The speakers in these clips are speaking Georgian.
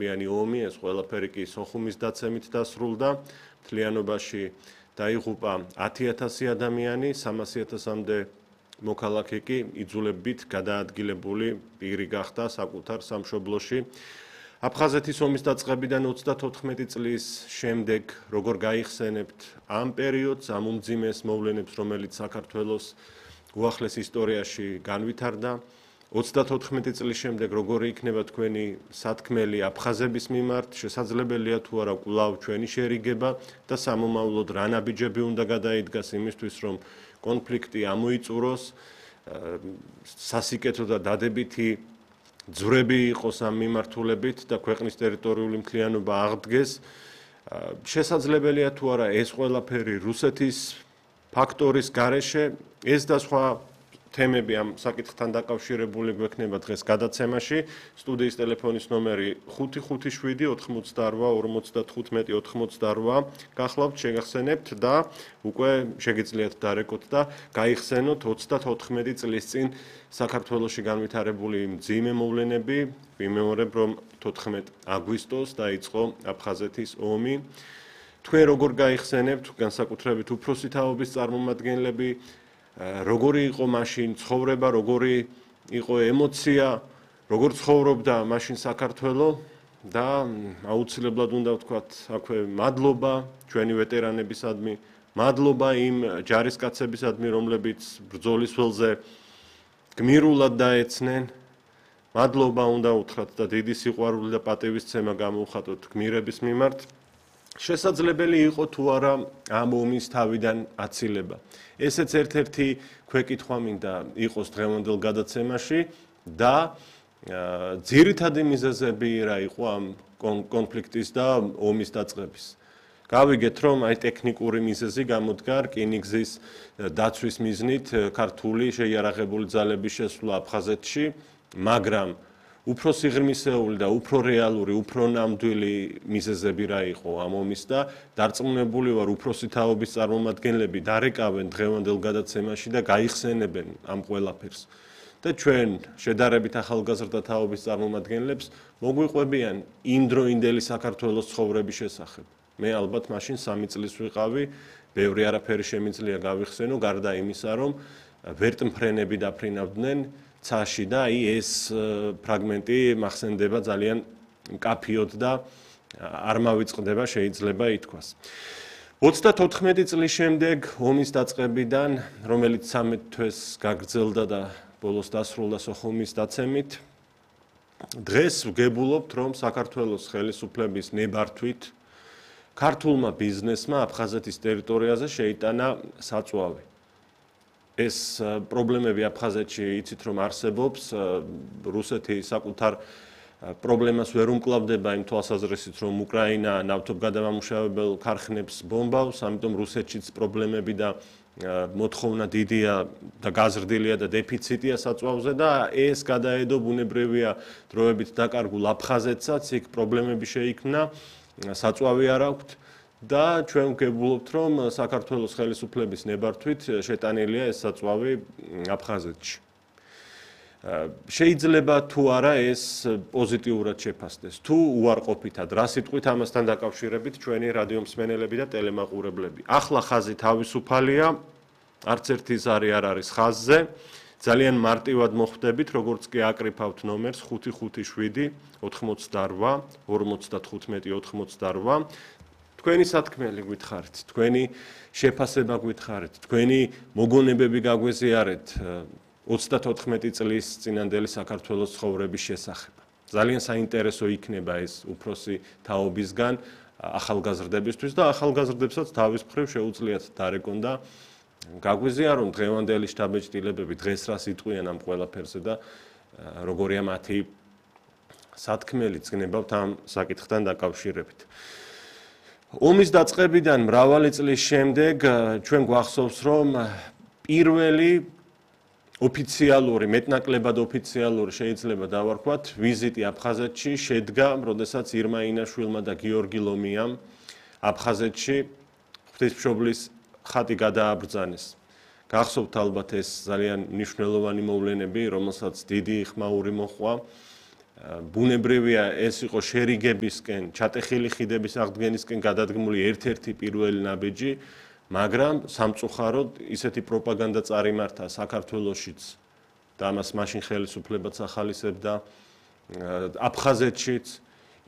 მიანი ომი, ეს ყველაფერი კი სოხუმის დაცემით დასრულდა. მთლიანობაში დაიღუპა 10,000 ადამიანი, 300,000-მდე მოქალაქე კი იძულებით გადაადგილებული პირი გახდა საკუთარ სამშობლოში. აფხაზეთის ომის დაწყებიდან 34 წლის შემდეგ როგორ გაიხსენებთ ამ პერიოდს, ამ უმძიმეს მოვლენებს, რომელიც საქართველოს უახლეს ისტორიაში განვითარდა. 34 წლის შემდეგ როგორი იქნება თქვენი სათქმელი აფხაზების მიმართ, შესაძლებელია თუ არა კვლავ ჩვენი შერიგება და სამომავლოდ რა ნაბიჯები უნდა გადაიდგას იმისთვის, რომ კონფლიქტი ამოიწუროს, სასიკეთო და დადებითი ძვრები იყოს ამ მიმართულებით და ქვეყნის ტერიტორიული მთლიანობა აღდგეს. შესაძლებელია თუ არა ეს ყველაფერი რუსეთის ფაქტორის გარეშე, ეს და სხვა თემები ამ საკითხთან დაკავშირებული გვექნება დღეს გადაცემაში. სტუდიის ტელეფონის ნომერი 557 88 55 88. გახლავთ, შეგახსენებთ და უკვე შეგიძლიათ დარეკოთ და გაიხსენოთ 34 წლის წინ საქართველოში განვითარებული მძიმე მოვლენები. ვიმეორებ, რომ 14 აგვისტოს დაიწყო აფხაზეთის ომი. თქვენ როგორ გაიხსენებთ, განსაკუთრებით უფროსი თაობის წარმომადგენლები, როგორი იყო მაშინ ცხოვრება, როგორი იყო ემოცია, როგორ ცხოვრობდა მაშინ საქართველო და აუცილებლად უნდა ვთქვათ, აქვე მადლობა ჩვენი ვეტერანებისადმი, მადლობა იმ ჯარისკაცებისადმი, რომლებიც ბრძოლის ველზე გმირულად დაეცნენ. მადლობა უნდა უთხრათ და დიდი სიყვარული და პატივისცემა გამოუხატოთ გმირების მიმართ. შესაძლებელი იყო თუ არა ამ ომის თავიდან აცილება. ესეც ერთ-ერთი ქვეკითხვა მინდა იყოს დღევანდელ გადაცემაში და ძირითადი მიზეზები რა იყო ამ კონფლიქტის და ომის დაწყების. გავიგეთ, რომ აი ტექნიკური მიზეზი გამოდგა რკინიგზის დაცვის მიზნით ქართული შეიარაღებული ძალების შესვლა აფხაზეთში, მაგრამ უფრო სიღრმისეული და უფრო რეალური, უფრო ნამდვილი მიზეზები რა იყო ამ ომის და დარწმუნებული ვარ, უფროსი თაობის წარმომადგენლები დარეკავენ დღევანდელ გადაცემაში და გაიხსენებენ ამ ყველაფერს. და ჩვენ შედარებით ახალგაზრდა თაობის წარმომადგენლებს მოგვიყვებიან იმდროინდელი საქართველოს ცხოვრების შესახებ. მე ალბათ მაშინ 3 წლის ვიყავი, ბევრი არაფერი შემიძლია გავიხსენო, გარდა იმისა, რომ ვერტმფრენები დაფრინავდნენ ცაში და აი ეს ფრაგმენტი მახსენდება ძალიან მკაფიოდ და არ მავიწყდება შეიძლება ითქვას. 34 წლის შემდეგ ომის დაწყებიდან, რომელიც 13 თვეს გაგრძელდა და ბოლოს დასრულდა სოხუმის დაცემით, დღეს ვგებულობთ, რომ საქართველოს ხელისუფლების ნებართვით ქართულმა ბიზნესმა აფხაზეთის ტერიტორიაზე შეიტანა საწვავი. ეს პრობლემები აფხაზეთში იცით რომ არსებობს, რუსეთი საკუთარ პრობლემას ვერ უმკლავდება იმ თვალსაზრისით, რომ უკრაინა ნავთობგადამამუშავებელ ქარხნებს ბომბავს, ამიტომ რუსეთშიც პრობლემები და მოთხოვნა დიდია და გაზრდილია და დეფიციტია საწვავზე და ეს გადაედო ბუნებრივია დროებით დაკარგულ აფხაზეთსაც, იქ პრობლემები შეიქმნა, საწვავი არ აქვთ. და ჩვენ ვგებულობთ, რომ საქართველოს ხელისუფლების ნებართვით შეტანილია ეს საწვავი აფხაზეთში. შეიძლება თუ არა ეს პოზიტიურად შეფასდეს, თუ უარყოფითად, რა სიტყვით ამასთან დაკავშირებით ჩვენი რადიო მსმენელები და ტელემაყურებლები. ახლა ხაზი თავისუფალია, არც ერთი ზარი არ არის ხაზზე. ძალიან მარტივად მოხვდებით, როგორც კი აკრიფავთ ნომერს 557 88 55 88. თქვენი სათქმელი გითხარით, თქვენი შეფასება გითხარით, თქვენი მოგონებები გაგვეზიარეთ 34 წლის წინანდელი საქართველოს ცხოვრების შესახებ. ძალიან საინტერესო იქნება ეს უფროსი თაობისგან ახალგაზრდებისთვის და ახალგაზრდებსაც თავის მხრივ შეუძლიათ დარეკონ და გაგვეზიარონ დღევანდელი შთაბეჭდილებები, დღეს რას იტყვიან ამ ყველაფერზე და როგორია მათი სათქმელი წნებავთ ამ საკითხთან დაკავშირებით. ომის დაწყებიდან მრავალი წლის შემდეგ ჩვენ გვახსოვს, რომ პირველი ოფიციალური, მეტნაკლებად ოფიციალური შეიძლება დავარქვათ, ვიზიტი აფხაზეთში შედგა, როდესაც ირმა ინაშვილმა და გიორგი ლომიამ აფხაზეთში ღვთისმშობლის ხატი გადააბრძანეს. გახსოვთ ალბათ ეს ძალიან მნიშვნელოვანი მოვლენები, რომელსაც დიდი ხმაური მოჰყვა. ბუნებრივია ეს იყო შერიგებისკენ, ჩატეხილი ხიდების აღდგენისკენ გადადგმული ერთ-ერთი პირველი ნაბიჯი, მაგრამ სამწუხაროდ ისეთი პროპაგანდა წარიმართა საქართველოშიც და ამას მაშინ ხელისუფლებაც ახალისებდა აფხაზეთშიც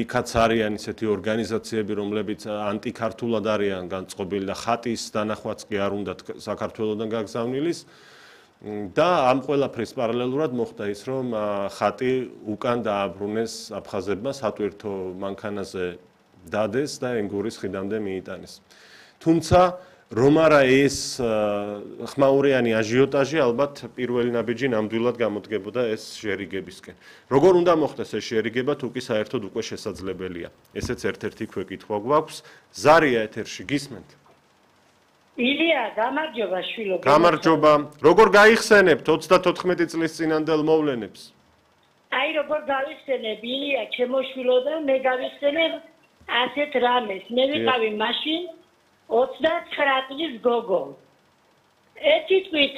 იქაც არიან ისეთი ორგანიზაციები, რომლებიც ანტიქართულად არიან განწყობილი და ხატის დანახვაც კი არ უნდათ საქართველოსდან გაგზავნილის და ამ ყველაფრის პარალელურად მოხდა ის, რომ ხატი უკან დააბრუნეს აფხაზებმა სატვირთო მანქანაზე დადეს და ენგურის ხიდამდე მიიტანეს. თუმცა რომ არა ეს ხმაურიანი აჟიოტაჟი ალბათ პირველი ნაბიჯი ნამდვილად გამოდგებოდა ეს შერიგებისკენ. როგორ უნდა მოხდეს ეს შერიგება, თუ კი საერთოდ უკვე შესაძლებელია. ესეც ერთ-ერთი ქვეკითხვა გვაქვს. ზარია ეთერში გისმენთ? ილია, გამარჯობა შვილო. გამარჯობა. როგორ გაიხსენებთ 34 წლის წინანდელ მოვლენებს? აი როგორ გავიხსენებ, ილია, ჩემო შვილო და მე გავიხსენებ ასეთ რამეს. მე ვიყავი მაშინ 29 წლის გოგო. ერთი თვით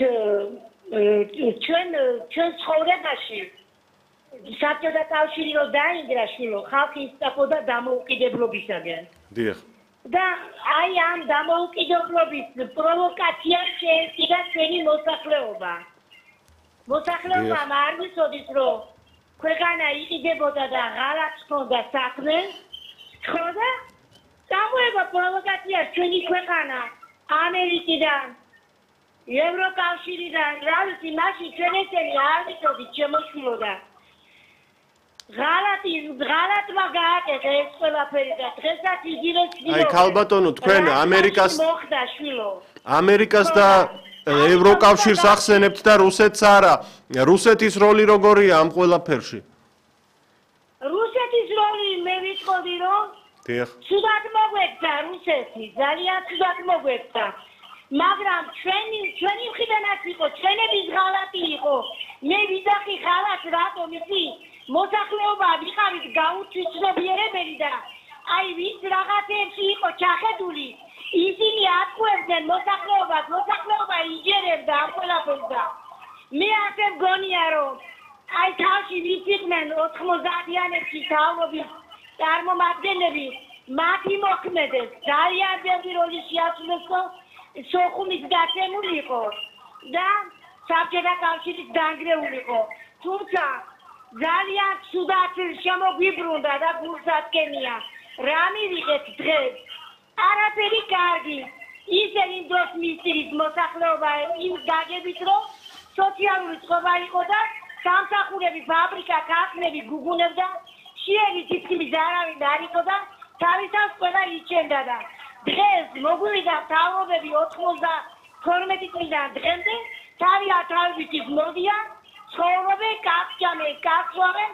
ჩვენ ცხოვრებაში საბჭოთა კავშირი რო დაინგრა შვილო, ხალხი ისწრაფოდა დამოუკიდებლობისაგან. დიახ. და აი ამ დამოუკიდებლობის პროვოკაციას შეეწირა ჩვენი მოსახლეობა. მოსახლეობამ არ ვიცოდით, რომ ქვეყანა იყიდებოდა და ღალატს ჰქონდა საქმე, ხოდა გამოება პროვოკაცია ჩვენი ქვეყანა ამერიკიდან, ევროკავშირიდან, რა ვიცი, მაშინ ჩვენ ესენი არ ვიცოდით შემოშვილო და ღალატმა გააკეთა ეს ყველაფერი და დღესაც იგივე აი ქალბატონო, თქვენ ამერიკას მოხდა შვილო. ამერიკას და ევროკავშირს ახსენებთ და რუსეთს არა. რუსეთის როლი როგორია ამ ყველაფერში? რუსეთის როლი მე ვიტყოდი, რომ ცუდად მოგვექცა რუსეთი, ძალიან ცუდად მოგვექცა. მაგრამ ჩვენი მხრიდანაც იყო, ჩვენების ღალატი იყო. მე ვიძახი ღალატს რატომ იცი? მოსახლეობა ვიყავით გაუჩვენებელი და აი ვის რაღაცებში იყო ჩახედული, ისინი ატყუებდნენ მოსახლეობას, მოსახლეობა იჯერებდა ამ ყველაფერს და მე ასე მგონია, რომ აი თავში ვის იყვნენ 90-იანებში თავობის წარმომადგენლები, მათი მოქმედეს ძალიან ბევრი როლი შეასრულეს, სოხუმის გაცემული იყო და საბჭოთა კავშირის დანგრეულიყო. თუმცა ძალიან ცუდად შემოგვიბრუნდა და გულსაცკენია. რა მივიღეთ დღეს? არაფერი კარგი. ისინი დროს მისცირით მოსახლეობა იმ გაგებით, რომ სოციალური წყობა იყო და სამსახურები, ფაბრიკა, ქარხნები გუგუნებდა, შეერი თითქმის არავინ არ იყო და თავისას ყველა იჩენდა და დღეს მოგვივიდა თავობები 92 წლიდან დღემდე თავით მოდიან, ცხოვრობენ, კაცჭამენ, კაცვავენ,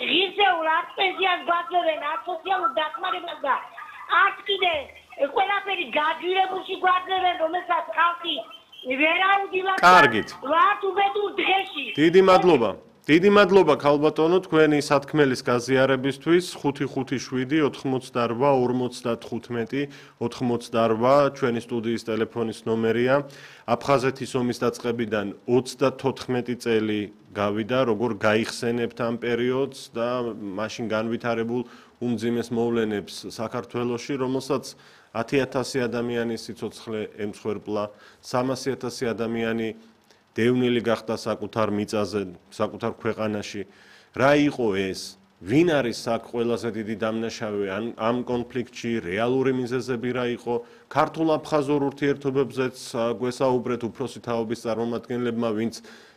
ღირსეულ პენსიას გვაძლევენ, სოციალურ დახმარებას და არც კიდე ყველაფერი გაძვირებულში გვაძლევენ, რომელსაც ხალხი ვერაუდილა. კარგით. ვართ უბედურ დღეში. დიდი მადლობა ქალბატონო თქვენი სათქმელის გაზიარებისთვის. 557 88 55 88 ჩვენი სტუდიის ტელეფონის ნომერია. აფხაზეთის ომის დაწყებიდან 34 წელი გავიდა, როგორ გაიხსენებთ ამ პერიოდს და მაშინ განვითარებულ უმძიმეს მოვლენებს საქართველოში, რომელსაც 10,000 ადამიანის სიცოცხლე ემსხვერპლა, 300,000 ადამიანი დევნილი გახდა საკუთარ მიწაზე, საკუთარ ქვეყანაში. რა იყო ეს? ვინ არის აქ ყველაზე დიდი დამნაშავე ამ კონფლიქტში? რეალური მიზეზები რა იყო? ქართულ-აფხაზურ ურთიერთობებზეც გვესაუბრეთ უფროსი თაობის წარმომადგენლებმა, ვინც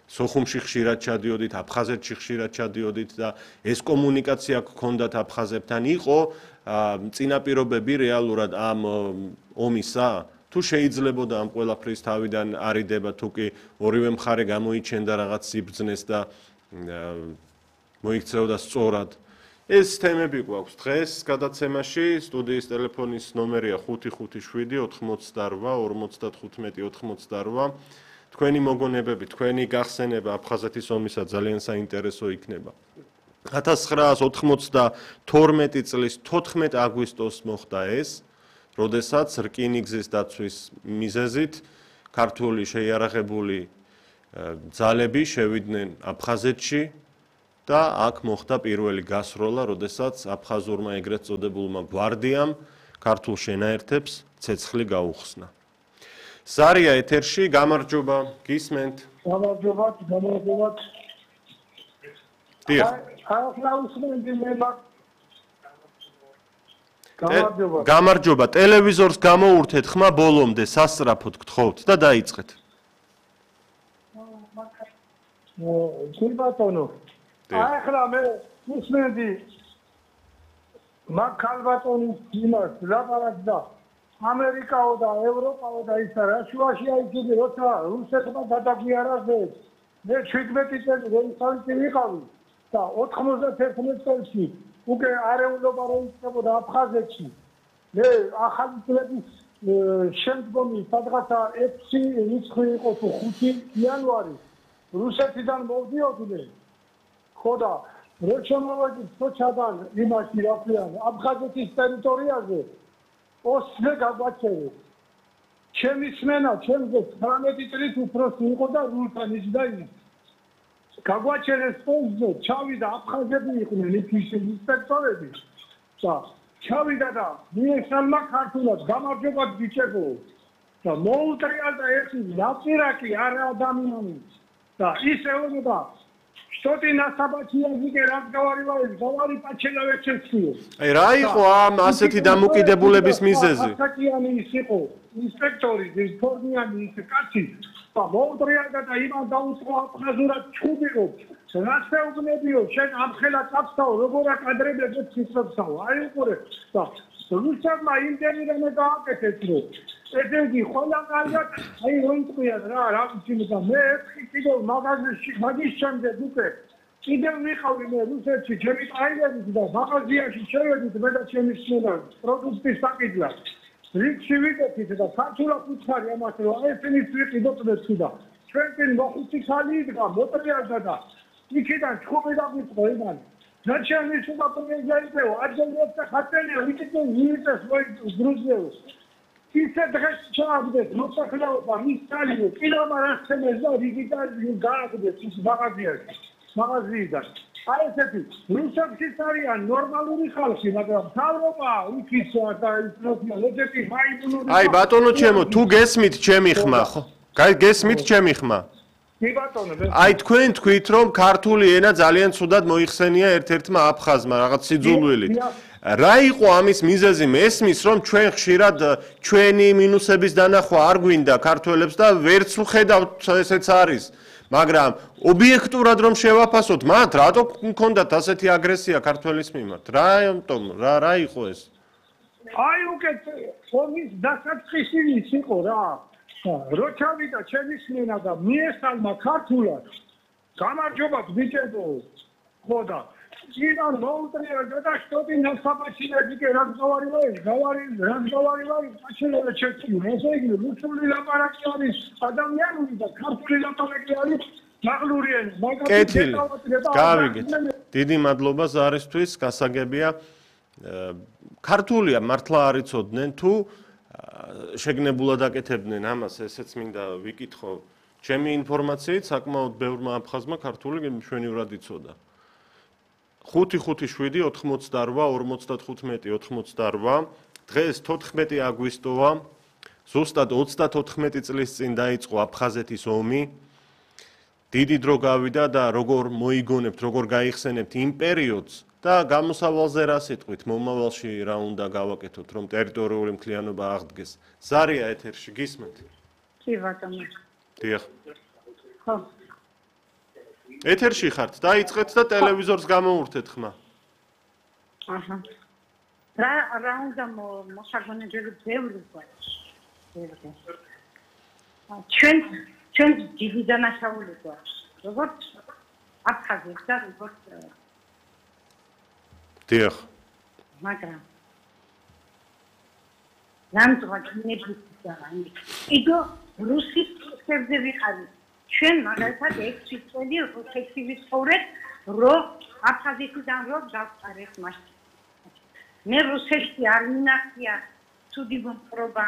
სოხუმში ხშირად ჩადიოდით, აფხაზეთში ხშირად ჩადიოდით და ეს კომუნიკაცია გქონდათ აფხაზებთან. იყო წინაპირობები რეალურად ამ ომისა? თუ შეიძლებოდა ამ ყველაფრის თავიდან არიდება, თუ კი ორივე მხარე გამოიჩენდა რაღაც სიბრძნეს და მოიქცეოდა სწორად. ეს თემები გვაქვს დღეს გადაცემაში. სტუდიის ტელეფონის ნომერია 557 88 55 88. თქვენი მოგონებები, თქვენი გახსენება აფხაზეთის ომისა ძალიან საინტერესო იქნება. 1992 წლის 14 აგვისტოს მოხდა ეს, როდესაც რკინიგზის დაცვის მიზეზით ქართული შეიარაღებული ძალები შევიდნენ აფხაზეთში და აქ მოხდა პირველი გასროლა, როდესაც აფხაზურმა ეგრეთ წოდებულმა გვარდიამ ქართულ შენაერთებს ცეცხლი გაუხსნა. ზარია ეთერში, გამარჯობა, გისმენთ. გამარჯობათ. დიახ. გამარჯობა, ტელევიზორს გამოურთეთ ხმა ბოლომდე, სასწრაფოდ გთხოვთ და დაიწყეთ. კი ბატონო. ახლა მე მისმენდი მაგ ქალბატონის იმას ლაპარაკდა ამერიკაო და ევროპაო და ისა რა შუაში აიძულე როცა რუსეთმა გადაგვიარაღეს მე 17 წელი რუსთავში ვიყავი და 91 წელს უკვე არეულობა როიწებოდა აფხაზეთში მე ახალი წლების შემდგომი სადღაცა 6 რიცხვი იყო თუ 5 იანვარი რუსეთიდან მოვდიოდნენ ხოდა როჩამოვედი სოჩადან იმაში რა ქვიან აფხაზეთის ტერიტორიაზე ოსმე გაგვაჩერეს. ჩემი სმენა ჩემზე 19 წლის უფროსი იყო და რუსთან ისდაინა. გაგვაჩერეს ოსმე, ჩავიდა აფხაზები იყვნენ იქის ინსპექტორები. და ჩავიდა და მიესალმა ქართულად გამარჯობათ ბიჭებო. და მოუტრიალდა ერთი ნაპირაკი არა ადამიანი. და ისეულობა Что-то на собачьем языке разговаривает, говорит по-человечески. Აი რა იყო ამ ასეთი დამოკიდებულების მიზეზი? ასაკიანი იყო ინსპექტორი, ფორმიანი ის კაცი. და მოუტრიალდა და იმან დაუწყო აფხაზურად ჩუბიო. რასეუბნებიო, შენ ამხელა წავსაო, როგორ აკადრებებს ციცობსაო. აი უყურე. და რუსებმა იმდენი რამე გააკეთეს, რომ ესეთი ყველა კარგად აი როიტყვია რა ვიცი და მე კიდევ მაღაზიაში მაგის შემდეგ უკვე კიდევ ვიყავი მე რუსეთში ჩემი ტაილერით და მაღაზიაში შევედით მე და ჩემი სმენა პროდუქტის საკითხად რიგში ვიკეთით და ქართულად უცხარი ამას რომ ესენიც ვიყიდოთ და ჩვენკენ მოხუცი ხალი იდგა მოტრიალდა და იქიდან ჩხუბი დაგვიწყო იმან ნაჩვენი სულა პრეზიდენტო აჯერებს ხატელია ვიკეთე ვიდეს გრუზიელს ისე დღეს ჩააგდეს მოსახლეობა მისწალიო კილომეტრებს და რიგიტალ გააგდეს ის მაღაზიიდან აი ესეთი რუსეთში არიან ნორმალური ხალხი მაგრამ თავრობა იქისა და ისროფიალები მაიმუნური აი ბატონო ჩემო თუ გესმით ჩემი ხმა ხო გესმით ჩემი ხმა კი ბატონო აი თქვენ თქვით რომ ქართული ენა ძალიან ცუდად მოიხსენია ერთ-ერთმა აფხაზმა რაღაც სიძულვილით რა იყო ამის მიზეზი მესმის რომ ჩვენ ხშირად ჩვენი მინუსების დანახვა არ გვინდა ქართველებს და ვერც ვხედავთ ესეც არის მაგრამ ობიექტურად რომ შევაფასოთ მათ რატო მქონდათ ასეთი აგრესია ქართველის მიმართ რა იყო ეს აი უკეთ ფორმის დასაწყისი იყო რა როჩავიდა ჩემი სმენა და მიესალმა ქართულად გამარჯობათ ბიჭებო ხოდა Иван Волтриер, да что ты на собачьем языке разговариваешь? Разговариваешь, по-человечески. Русули лапаракиани, адамიანი და ქართული ლაპარაკიანი მაღლურიანი. კეთილი. გავიგეთ. დიდი მადლობა ზარისთვის, გასაგებია. ქართულია მართლა არ იცოდნენ თუ შეგნებულად აკეთებდნენ ამას, ესეც მინდა ვიკითხო. ჩემი ინფორმაციით საკმაოდ ბევრმა აფხაზმა ქართული მშვენივრად იცოდა. 5-5-7-88-55-88 დღეს 14 აგვისტოა ზუსტად 34 წლის წინ დაიწყო აფხაზეთის ომი დიდი დრო გავიდა და როგორ მოიგონებთ როგორ გაიხსენებთ იმ პერიოდს და გამოსავალზე რა სიტყვით მომავალში რა უნდა გავაკეთოთ რომ ტერიტორიული მთლიანობა აღდგეს ზარია ეთერში გისმენთ კი ბატონო დიახ ხო ეთერში ხართ, დაიწყეთ და ტელევიზორს გამოურთეთ ხმა. აჰა. რა უნდა მოსაგონებელი ბევრი გვაქვს. ჩვენ დიდი დანაშაული გვაქვს. როგორც აფხაზეთს და როგორც დიახ. მაგრამ ნამდვილად ნებისმიერ იდო რუსის ხებზე ვიყავი. ჩვენ მაგალითად 6 წელი რუსეთში ვიცხოვრეთ, რომ აფხაზეთიდან რომ დავწყარეთ მას. მე რუსეთში არ მინახია ცუდი მომხრობა,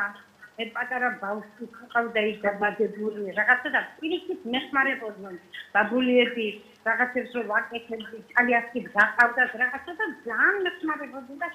მე პატარა ბავშვი ყავდა ის დაბადებული რაღაცა და პირიქით მეხმარებოდნენ ბაბულიები რაღაცებს რომ ვაკეთებდი იტალიასკი გაყავდა რაღაცა და ძალიან მეხმარებოდნენ და